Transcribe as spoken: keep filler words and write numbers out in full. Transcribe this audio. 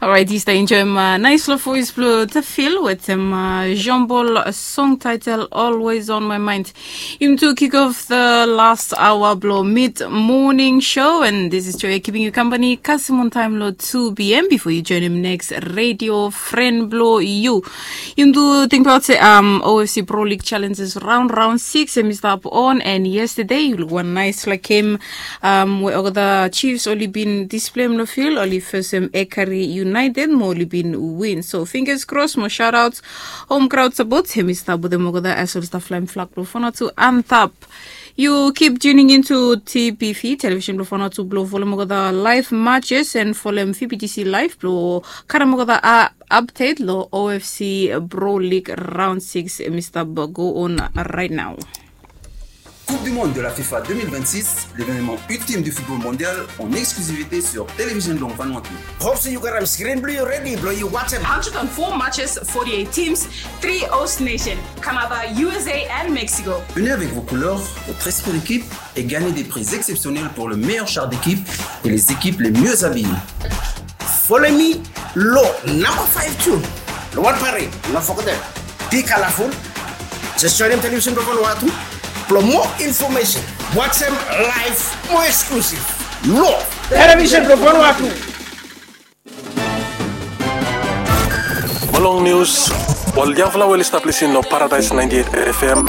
Alright, yu stap enjoem uh, nice lo voice blo Tafil wetem uh, Jean Paul song title Always on My Mind. Yumi tu kick off the last hour blo mid morning show and this is Joya keeping you company kasem on time lo two p.m. before you join him next radio friend blo you. Yumi tu think about se um, O F C Pro League challenges round round six em i stap on and yesterday you look one nice like him um, we olgeta Chiefs oli bin display em lo field oli fesem Ekari United mo oli bin win. So fingers crossed mo shoutouts home crowd support em i stap wetem olgeta as oli stap flaim flag blo Vanuatu antap. You keep tuning into T P V television blo Vanuatu blo folem olgeta live matches and folem V P T C live blo karem olgeta update lo O F C Pro League round six em i stap go on right now. Coupe du Monde de la FIFA deux mille vingt-six, l'événement ultime du football mondial en exclusivité sur Télévision Blanc Vanuatu. Hope se yu gat am screen blong yu ready blong yu watch am. Hundred and four matches, forty-eight teams, three host nation, Canada, U S A and Mexico. Venez avec vos couleurs, votre esprit d'équipe et gagnez des prix exceptionnels pour le meilleur char d'équipe et les équipes les mieux habillées. Follow me lo number five tune. Lo One Parade, no forget them. Be colorful. Just join them television blo Vanuatu. Blo more information, watch them live, more exclusive. Lo television blo Vanuatu. Mo long nius, ol yangfala we oli stap lisin lo Paradise ninety-eight F M,